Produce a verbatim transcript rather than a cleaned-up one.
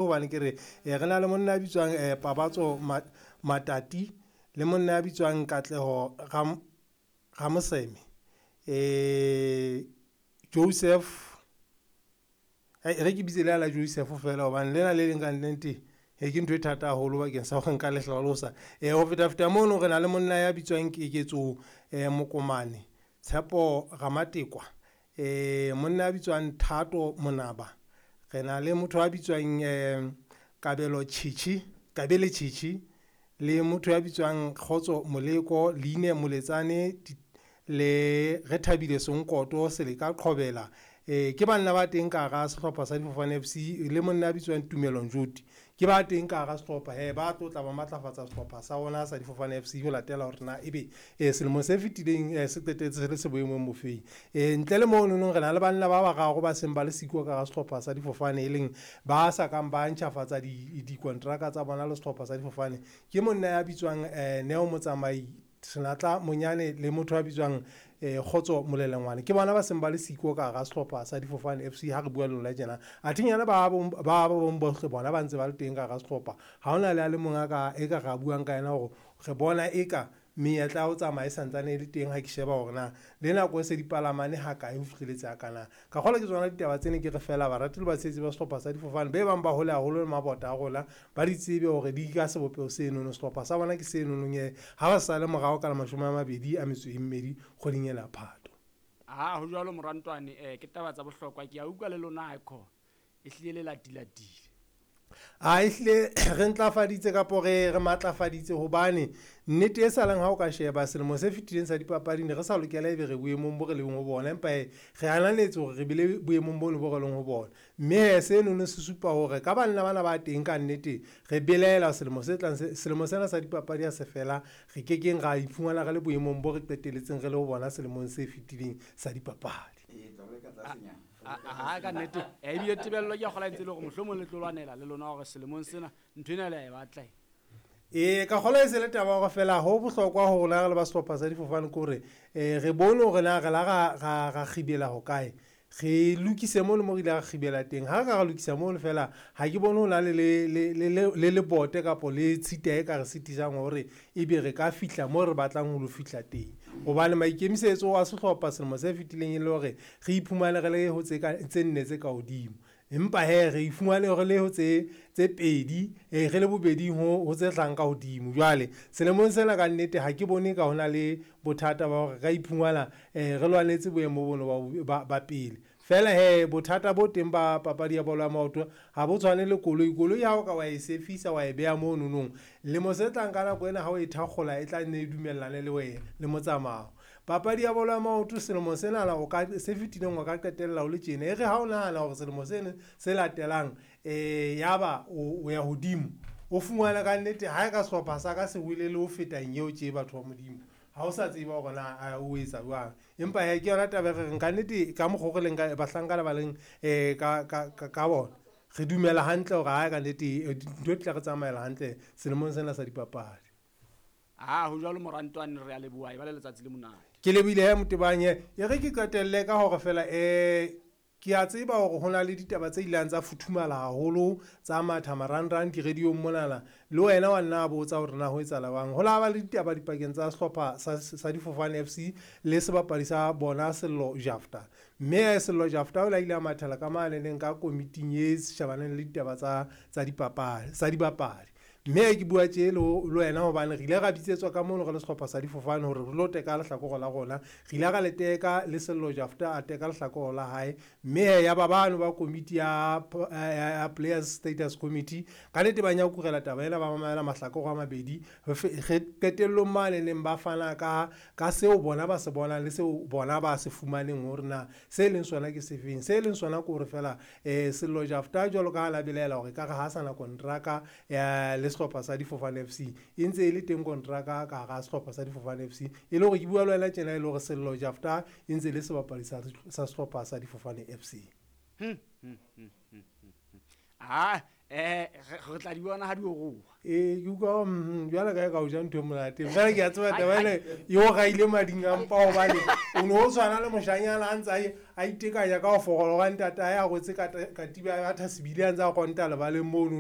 Hobane ke re re na le monna ya bitswang Pabatso Matati le monna ya bitswang Katleho Ramoseme, Joseph, e re ke bitse le la Joseph fela hobane lena le leng ka nnete ke ntho e thata haholo bakeng sa hore nka le hlalosa. Ho feta feta mono re na le monna ya bitswang Keketso Mokomane, Tshepo Ramatekwa, monna ya bitswang Thato Monaba, re na le motho ya bitswang Kabelo Tjhetjhe, Kabele Tjhetjhe le motho ya bitswang Kgotso Moleko, Leine Moletsane le Rethabile Senkoto, Seleka Qhobela. Ke banna ba teng ka hara sehlopha sa Difofane F C le monna ya bitswang Tumelo Njoti. Ke ba teng ka hara sehlopha he ba tlo tla ba matlafatsa sehlopha sa bona sa Difofane F C ho latela hore na ebe selemo se fetileng se qetetse se le se boemong bofeng. Ntle le mono nong re na le banna ba bararo ba seng ba le siko ka hara sehlopha sa Difofane e leng ba sa kang ba ntjhafatsa dikontraka tsa bona le sehlopha sa Difofane. Ke monna ya bitswang Neo Motsamai, Senatla Monyane le motho ya bitswang Kgotso Molelengwane. Ke bona ba seng ba le siko ka hara sehlopha sa Difofane F C ha re bua le lona tjena. Athinyana ba ba bong bohle bona ba ntse ba le teng ka hara sehlopha. Ha hona le a le mong a ka e ka ra buang ka yena hore re bona eka menyetla ya ho tsamaya e santsane e le teng ha ke sheba hore na le nako e se dipalamane ha kae ho fihleletse ha kana. Ka kgolwa ke tsona ditaba tsene ke re fela barati le batshehetsi ba sehlopha sa Difofane be bang ba hole haholo le mabota a rona ba di tsebe hore di ka sebopeho senono sehlopha sa bona ke senonong e ha ba sa le morao ka la mashome a mabedi a metso e mmedi kgweding ena ya Phato. Ha ho jwalo morantwane, eh ke taba tsa bohlokwa ke a utlwa le lona icon e hlile le latilatile. A ehlile re ntlafaditse kapo re re matlafaditse hobane nnete e salang ha o ka sheba selemo se fetileng sa dipapadi ne re sa lokela ebe re boemong bo re leng ho bona, empa re ananetse hore re bile boemong bono bo re leng ho bona. Mme seno se supa hore ka banna bana ba teng ka nnete re belaela selemo se tlang, selemo sena sa dipapadi ha se fela re kekeng ra iphumana re le boemong bo re qetelletseng re le ho bona selemong se fetileng sa dipapadi. Ha ka nnete e bile tebello ke a kgola ntse le hore mohlomong le tlo lwanela le lona hore selemong sena ntho ena le a e batla. E ka kgola e se le taba hore fela ho bohlokwa ho rona re le ba sehlopha sa Difofane ke hore re bone hore na re la ra ra kgibela hokae, re lokise mono mo re ile ra kgibela teng. Ha re ka ra lokisa mono fela ha ke bone ho na le le le le lebote kapo le tshita e ka re sitisang hore ebe re ka fihla mo re batlang ho lo fihla teng. Hobane maikemisetso a sehlopha selemo se fetileng e le hore re iphumane re le ho tse ka tse nne tse ka hodimo, empa he re iphumane re le ho tse tse pedi, re le bobeding ho ho tse hlahang ka hodimo. Jwale selemong sena ka nnete ha ke bone ka hona le bothata ba hore ka iphumana re lwanetse boemo bono ba ba pele. Fela he bothata bo teng ba papadi ya bolo ya maoto ha bo tshwane le koloi. Koloi ha o ka wa e sefisa wa e beha mono nong, lemo se tlang ka nako ena ha o e thakgola e tla nne e dumellane le wena le motsamao. Papadi ya bolo ya maoto selemo sena o ka se fetileng o ka qetella o le tjena, e re ha o nahana hore selemo sena se latelang eh yaba o ya hodimo o fumana ka nnete ha e ka sehlopha sa ka se wele le ho feta eo tje batho ba Modimo ha o sa tseba hore na o etsa jwang. Empa he ke yona taba e re reng ka nnete ka mokgwa o re leng ka bahlankana ba leng ka ka ka bona re dumela hantle hore ha ka nnete dintho di tla re tsamaela hantle selemong sena sa dipapadi. Ha ho jwalo morantwane, re a leboha e ba le letsatsi le monate. Ke lebohile he Motebanye. E re ke qetelle ka hore fela eh ke a tseba hore ho na le ditaba tse ileng tsa futhumala haholo tsa matha marangrang di-radio-ng monana, le wena wa nna botsa hore na ho etsahala jwang. Ho la ba le ditaba dipakeng tsa sehlopha sa, sa Difofane F C le sebapadi sa bona Sello Jafta. Mme Sello Jafta o la ile a mathela ka mane leng ka komiting e shebaneng le ditaba tsa tsa dipapadi tsa dibapadi. Mme ke bua tje le wena hobane re ile ra bitsetswa ka mono re le sehlopha sa Difofane hore re lo teka lehlakore la rona. Re ile ra le teka le Sello Jafta a teka lehlakore la hae, mme ya ba bano ba komiti ya ya Players Status Committee ka nnete ba nyakurela taba ena, ba mamela mahlakore a mabedi. Re qetellong mane neng ba fana ka ka seo bona ba se bonang le seo bona ba se fumaneng hore na se leng sona ke sefeng. Se leng sona ke hore fela eh Sello Jafta jwalo ka ha la belaela hore ka re ha sana kontraka ya le sehlopha sa Difofane F C e ntse e le teng kontraka ka hara sehlopha sa Difofane F C, e le hore ke bua le wena tjena e le hore Sello Jafta e ntse e le sebapadi sa sa sehlopha sa Difofane F C. Hmm, hmm, hmm, hmm, hmm. Ah, eh re Re tla di bona ha di oroha. Ee, ke utlwa mm, jwale ka e ka o ja ntho e monate. Jwale ke a tseba taba ena e o raile mading a mpa hobane o ne o tshwana le moshanyana a ntse a e- a itekanya ka ho fokola hobane ntatae a rwetse kata- katiba ya thasebile a ntse a konta lebaleng mono.